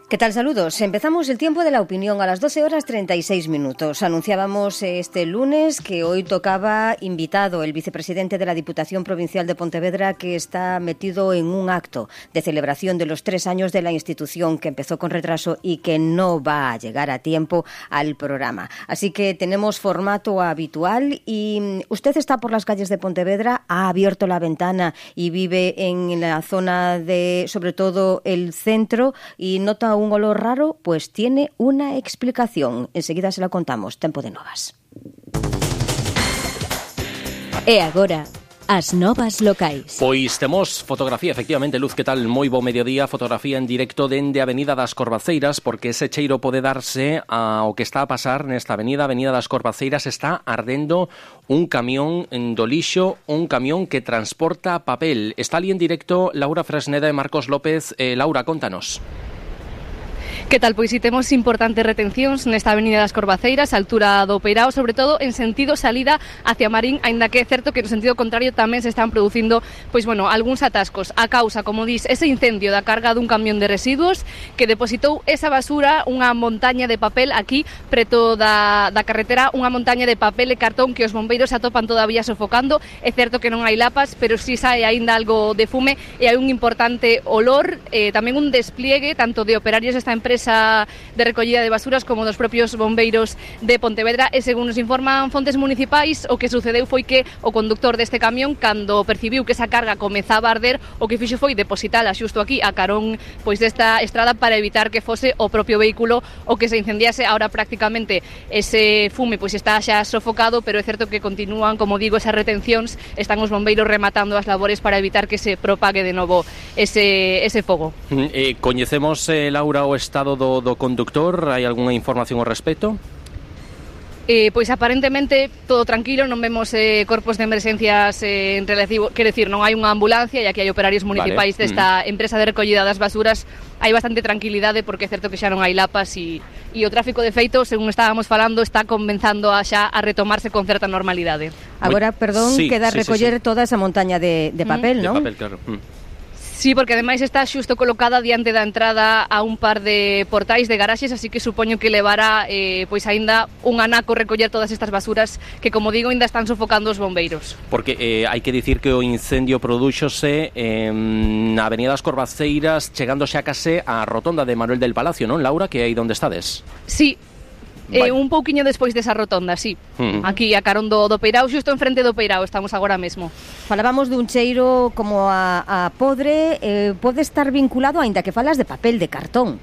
¿Qué tal? Saludos. Empezamos el tiempo de la opinión a las 12:36. Anunciábamos este lunes que hoy tocaba invitado el vicepresidente de la Diputación Provincial de Pontevedra, que está metido en un acto de celebración de los 3 años de la institución, que empezó con retraso y que no va a llegar a tiempo al programa. Así que tenemos formato habitual y usted está por las calles de Pontevedra, ha abierto la ventana y vive en la zona de, sobre todo, el centro y nota un olor raro, pues tiene una explicación. Enseguida se la contamos. Tempo de novas. E agora, as novas locais. Pois temos fotografía, efectivamente, Luz, que tal? Moi bo mediodía, fotografía en directo dende a Avenida das Corvaceiras, porque ese cheiro pode darse ao que está a pasar nesta avenida das Corvaceiras. Está ardendo un camión do lixo, un camión que transporta papel. Está ali en directo Laura Fresneda e Marcos López. Laura, contanos. Que tal? Pois si temos importantes retencións nesta avenida das Corvaceiras, a altura do Peirao, sobre todo en sentido salida hacia Marín, aínda que é certo que no sentido contrario tamén se están producindo, algúns atascos. A causa, como dis, ese incendio da carga dun camión de residuos que depositou esa basura, unha montaña de papel aquí preto da carretera, unha montaña de papel e cartón que os bombeiros atopan todavía sofocando. É certo que non hai lapas, pero si sae aínda algo de fume e hai un importante olor, tamén un despliegue tanto de operarios desta empresa de recollida de basuras como dos propios bombeiros de Pontevedra. E según nos informan fontes municipais, o que sucedeu foi que o conductor deste camión, cando percibiu que esa carga comezaba a arder, o que fixo foi depositala xusto aquí a carón desta estrada para evitar que fose o propio vehículo o que se incendiase. Ahora prácticamente ese fume está xa sofocado, pero é certo que continúan, como digo, esas retencións. Están os bombeiros rematando as labores para evitar que se propague de novo ese fogo. Coñecemos, Laura, o estado do conductor? Hai algunha información ao respecto? Pois aparentemente todo tranquilo, non vemos corpos de emerxencias en relativo, quero dicir, non hai unha ambulancia e aquí hai operarios municipais desta empresa de recollida das basuras. Hai bastante tranquilidade porque é certo que xa non hai lapas e o tráfico de feito, según estábamos falando, está comenzando a retomarse con certa normalidade. Agora, perdón, queda recoller toda esa montaña de papel, non? De papel, claro. Sí, porque ademais está xusto colocada diante da entrada a un par de portais de garaxes, así que supoño que levará aínda un anaco recoller todas estas basuras que, como digo, aínda están sofocando os bombeiros. Porque hai que dicir que o incendio prodúxose na Avenida das Corvaceiras, chegándose a case á rotonda de Manuel del Palacio, non, Laura, que é aí onde estades? Sí. Un pouquiño despois desa rotonda, sí. Aquí a carón do Peirao, xusto enfrente do Peirao estamos agora mesmo. Falábamos dun cheiro como a podre, pode estar vinculado, aínda que falas de papel, de cartón.